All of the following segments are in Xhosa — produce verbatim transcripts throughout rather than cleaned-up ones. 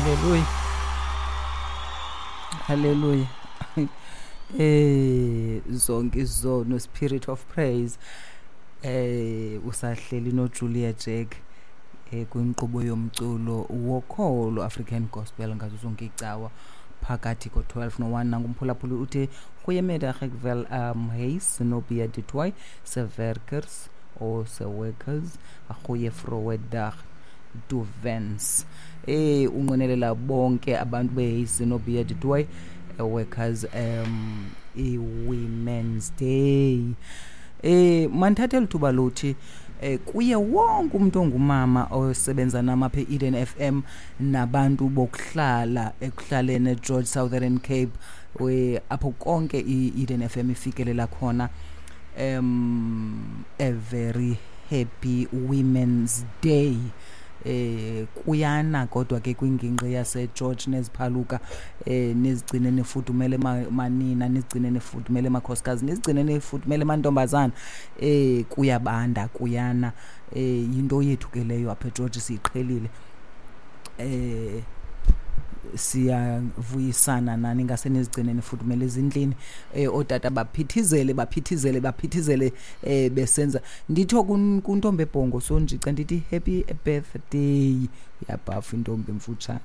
Hallelujah. Hallelujah. Eh zonke izono, spirit of praise. Eh usahleli no Julia Jack eh kwinkqubo yomculo wokholo African Gospel ngazo zonke icawa phakathi ko twelve no one. Nangumphulaphuli uthi goeiemiddag, ek wil um Huis Zenobia du Toit se werkers of se workers 'n goeie vroue dag toewens. Eh unqwenelela bonke abantu beHuis Zenobia du Toit workers um i-Women's Day. Eh mandithathe lithuba lothi eh kuye wonke umuntu ongumama osebenza nama apha e-Eden F M nabantu bokuhlala ekuhlaleni eGeorge Southern Cape, we apho konke i-Eden F M ifikelela khona, um a very happy Women's Day. Eh kuyana kodwa ke kwingingqi yase George neziphaluka, eh nizigcine nifudumele manina, nizigcine nifudumele makhosikazi, nizigcine nifudumele mantombazana. Eh kuyabanda kuyana, eh into yethu ke leyo apha eGeorge, siyiqhelile. Eh siyavuyisana nani ngase nizigcine nifudumele ezindlini. Eh otata baphithizele baphithizele baphithizele eh besenza nditho kuntombi ebhongo sonjica ndithi happy birthday, uyabhafa intombi emfutshane.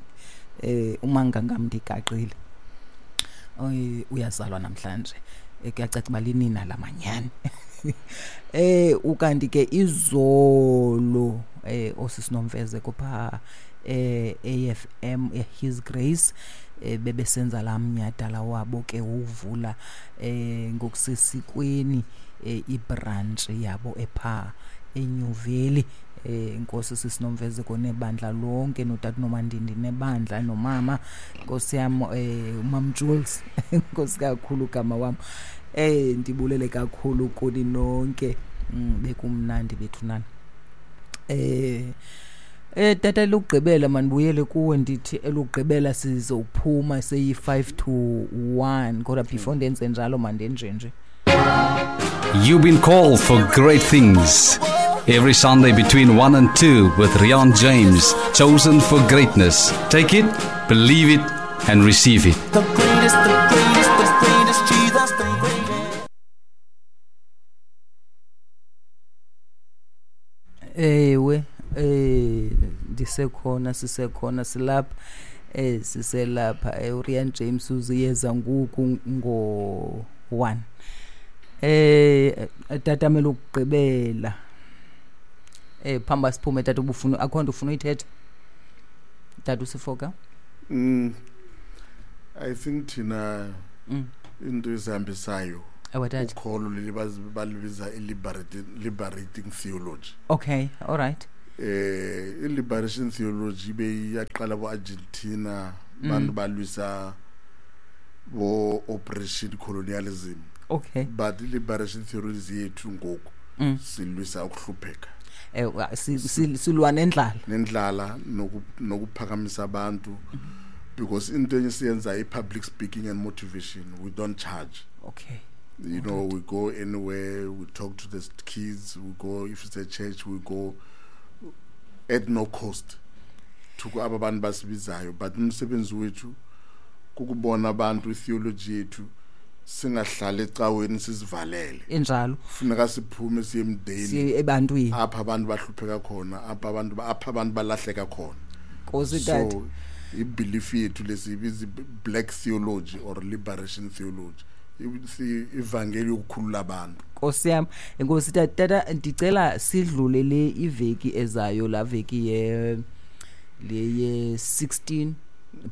Eh umangangam ndigaqile uyazalwa namhlanje, kuyacaca uba linina lamanyani. Eh ukanti ke izolo eh osisinomfezeko pha eh A F M His Grace eh bebesenza lamnyadala wabo ke uvula eh ngokusesikweni eh ibranch yabo epha eNew Valley. Eh inkosi sisinomfezeko nebandla lonke notata noMandindi nebandla nomama inkosi yam eh uMam Jules, inkosi kakhulu gama wam. Eh ndibulele kakhulu kuni nonke, bekumnandi bethu nani. Eh Eh tata lokugqibela manibuyele kuwe ndithi elokugqibela sizophuma seyi five to one, kodwa before ndenze njalo mandenje nje. You've been called for great things. Every Sunday between one and two with Rian James, chosen for greatness. Take it, believe it and receive it. The greatest, the greatest, the greatest, Jesus, the greatest. Ewe eh ndisekhona sisekhona silapha eh siselapha eh uRian James uziyeza ngoku ngo one. Eh tata mele ukugqibela eh phamba siphume tata, ubufuna akho nto ufuna uyithetha tata usifoka? Mm I think thina into ezihambisayo ukholo leli balibiza i-liberating liberating theology. Okay, all right. Eh i-liberation theology beyaqala bo Argentina, bantu balwisa bo operation colonialism. Okay. But i-liberation theology yethu ngoku silwisa ukuhlupheka. Eh silwa nendlala. Nendlala nokuphakamisa abantu, because into esiyenza i-public speaking and motivation, we don't charge. Okay. You know, we go anywhere, we talk to the kids, we go, if it's a church, we go at no cost to aba bantu basibizayo. But umsebenzi wethu kukubona abantu itheology yethu, singahlali ecaweni sizivalele. Injalo. Funeka siphume siye emdeni, siye ebantwini apha abantu bahlupheka khona, apha abantu apha abantu balahleka khona. Nkosi tata. So ibelief yethu lesibiza black theology or liberation theology, ivangeli yokukhulula abantu. Nkosi yami, inkosi tata, ndicela sidlule le iveki ezayo, la veki ye le ye sixteen,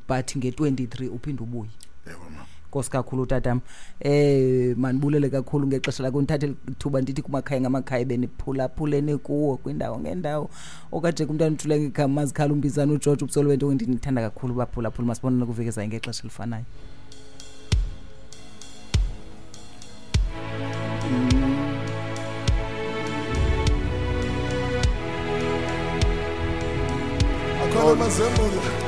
but nge twenty-three uphinde ubuye. Yebo mama. Nkosi kakhulu tatam. Eh manibulele kakhulu ngexesha lakho, ndithathe ithuba ndithi kumakhaya ngamakhaya beniphulaphulene kuwo kwindawo ngendawo. Okaje kumntana uthule ngegama Mazikhala umbizana uGeorge ubusolwe wento ndithanda kakhulu baphulaphula. Masibonane kuveki ezayo ngexesha elifanayo. Akhona mazembulo.